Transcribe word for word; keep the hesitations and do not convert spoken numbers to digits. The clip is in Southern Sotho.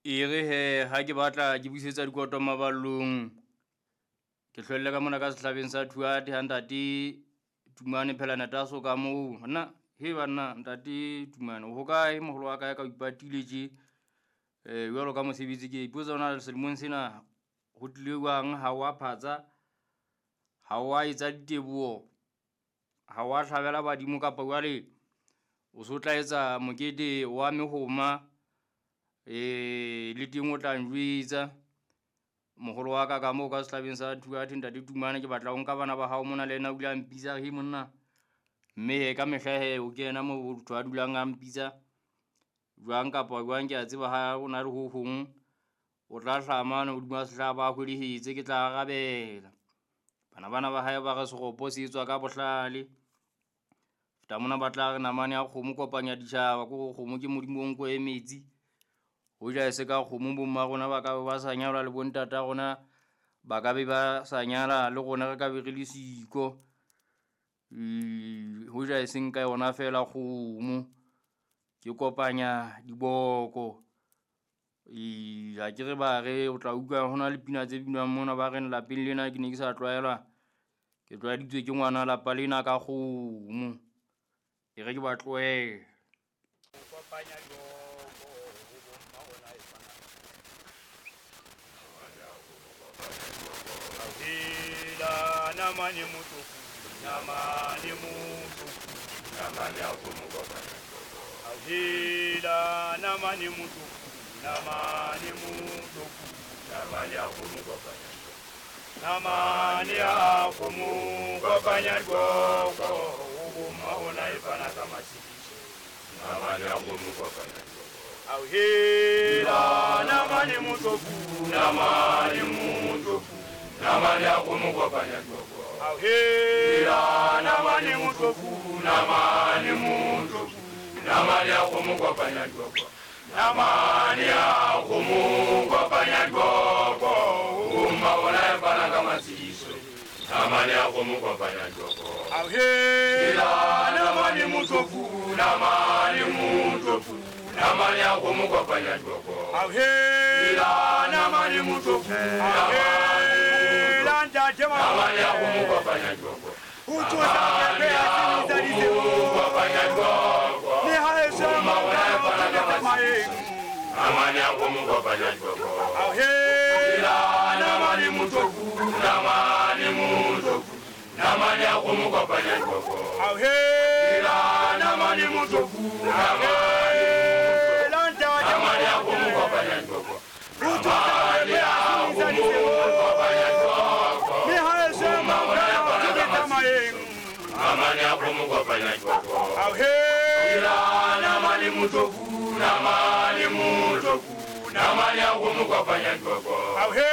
E re he ha ke batla ke busetsa dikoto maballong, ke hlwelle ka mona ka sehlabeng sa Thuate ha ntate Tumane phela netaso ka moo. Nna he banna ntate Tumane o hokae moholo wa ka ka o ipatile tje? Eh jwalo ka mosebetsi ke ipotsa hore na selemong sena ho tlile jwang ha wa phatsa, ha wa etsa diteboho, ha wa hlabela badimo kapa jwale o so tla etsa mokete wa mehoma. Eh le teng o tla njwetsa moholo wa ka ka moo ka sehlabeng sa Thuate ntate Tumane ke batla ho nka bana ba hao mona le yena o ile a mpitsa he monna. Mme he ka mehla he o kena moo motho a dulang a mpitsa jwang kapa jwang ke a tseba ha o na le ho hong o tla hlaha mane hodima sehlaba a hwelehetse ke tla arabela. Bana bana ba hae ba re seropo se etswa ka bohlale. Feta mona ba tla re namane ya kgomo kopanya ditjhaba ko hore kgomo ke modimo o nko e metsi. Hoja e se ka kgomo bo mma rona ba ka be ba sa nyalwa le bontata rona ba ka be ba sa nyala le rona re ka be re le siko. Hoja e seng ka yona feela kgomo ke kopanya diboko. Ha ke re ba re o tla utlwa hona le pina tse binwang mona ba reng lapeng lena ke ne ke sa tlwaelwa, ke tlwaeditswe ke ngwana lapa lena ka kgomo. E re ke ba tlohele. Kopanya diboko ho bomma ona e fana. Ahela namane motoko, namane motoko, namane a kgomo kopanya diboko. Ahela namane motoko, namane motoko, namane a kgomo kopanya diboko. Namane a kgomo kopanya diboko ho bomma ona e fana ka matshediso. Namane a kgomo kopanya diboko. Ahela namane motoko, namane motoko, namane a kgomo kopanya diboko. Ahela namane motoko, namane motoko, namane a kgomo kopanya diboko. Namane a kgomo kopanya diboko ho bomma ona e fana ka matshediso. Namane a kgomo kopanya diboko. Ahela namane motoko, namane motoko, namane a kgomo kopanya diboko. Ahela namane motoko, ahela ntate namane a kgomo kopanya diboko. O tsosa pepe ya sebetsa disebo. Kopanya diboko. Le ha e se maeng. Namane a kgomo kopanya diboko. Ahela namane motoko, namane motoko, namane a kgomo kopanya diboko. Ahela namane motoko, namane ntate namane a kgomo kopanya diboko. O tsosa pepe ya sebetsa disebo. Kopanya diboko. Le ha e se maeng. Namane a kgomo kopanya diboko. Ahela namane motoko, namane motoko, namane a kgomo kopanya diboko. Ahela